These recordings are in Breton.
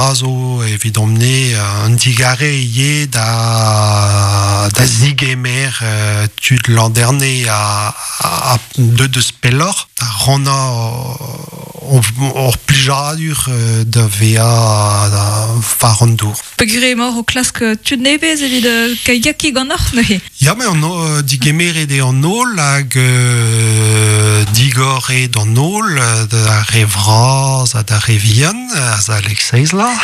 dra zo evidomp-ne un digare ivez da, da zigemer tud Landerne a, a, deut eus pelloc'h, da rannañ hor plijadur da vezañ war an dour. Peogwir emaoc'h o klask tud nevez evit kaiakiñ ganeoc'h neuze? Ya, met an, digemeret eo an holl hag digor eo d'an holl, d'ar re vras ha d'ar re vihan, azalek seizh vloaz.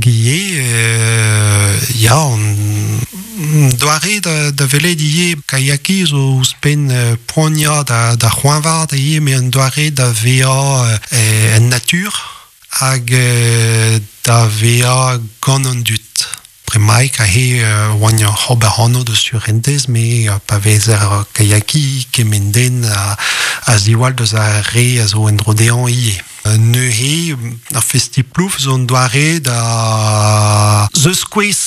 Ivez, ya, an doare da, da welet ivez kaiakiñ zo ouzhpenn poaniañ da, da c'hoañvaat ivez, met un doare da vezañ en natur hag da vezañ gant an dud. Bremaik aze oan oc'h ober anv deus surentez, me pa vezer kaiakiñ kement den a ziwall deus ar re a zo en-dro dezhañ ivez. Neuze, ar festi-plouf zo un doare da zeus-kouez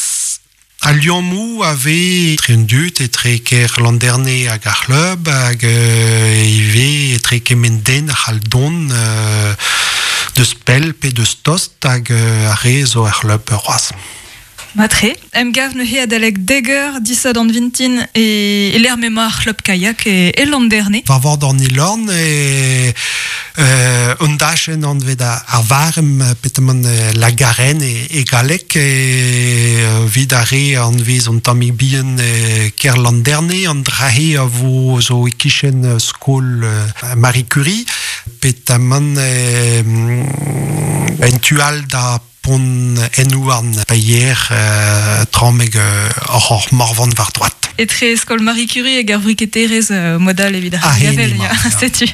al liammoù a vez etre an dud, etre kêr Landerne hag ar c'hlub, hag ivez etre kement den a c'hall dont deus pell pe deus tost hag ar re zo er c'hlub c'hoazh. Matre, emgav neuze adalek dek eur disadorn vintin e, e lec'h m'emañ ar c'hlub kayak e, e Landerne. War vord an Elorn e un dachenn anvet ar Varem petamant la Garenne e, e galleg evit ar re anvez an tammig bihan kêr Landerne an dra-se a vo zo e-kichen skol Marie Curie petamant en tu all da Pont Enhouarn paeier trameg oc'h hor morvan war droad. Etre skol Marie Curie hag ar vriketerez modal evit ar gavel, ya, setu.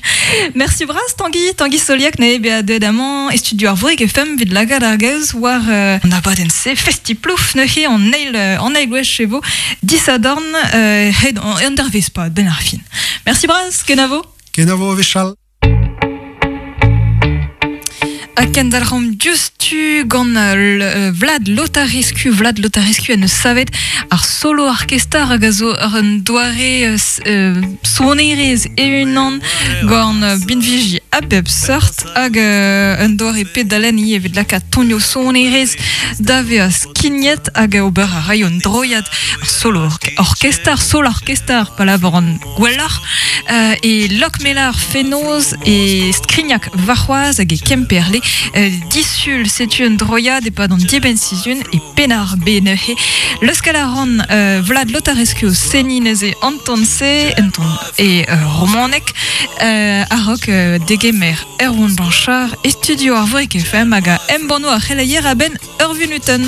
Merci bras Tanguy, Tanguy Soliac ne bezañ deuet amañ e studio ar Vroeg FM evit lakaat ar gaoz war an abadenn-se Festi-Plouf neuze an eil an eil gwech e vo disadorn hed an dervezh pad benn ar fin. Merci bras, kenavo. Kenavo a-wechall. Ha kendalc'homp diouzhtu gant Vlad Lotarescu. Vlad Lotarescu en deus savet ar solo orkester hag a zo ur un doare sonerezh e-unan gant binviji a bep seurt hag un doare pedalenn ivez evit lakaat tonioù sonerezh da vezañ skignet hag ober a raio un droiad ar solo orkester, solo orkester pa lavaran gwelloc'h e Lokmelar fenoz e Skrignac warc'hoazh hag e Kemperle disul setu un droiad e-pad an dibenn-sizhun e Penn-ar-Bed neuze leuskel a ran Vlad Lotarescu o seniñ neuze an ton-se un ton e romaneg a-raok degemer Erwan Blanchard e studio ar Vorik FM hag a embanno ar c'heleier a-benn ur vunutenn.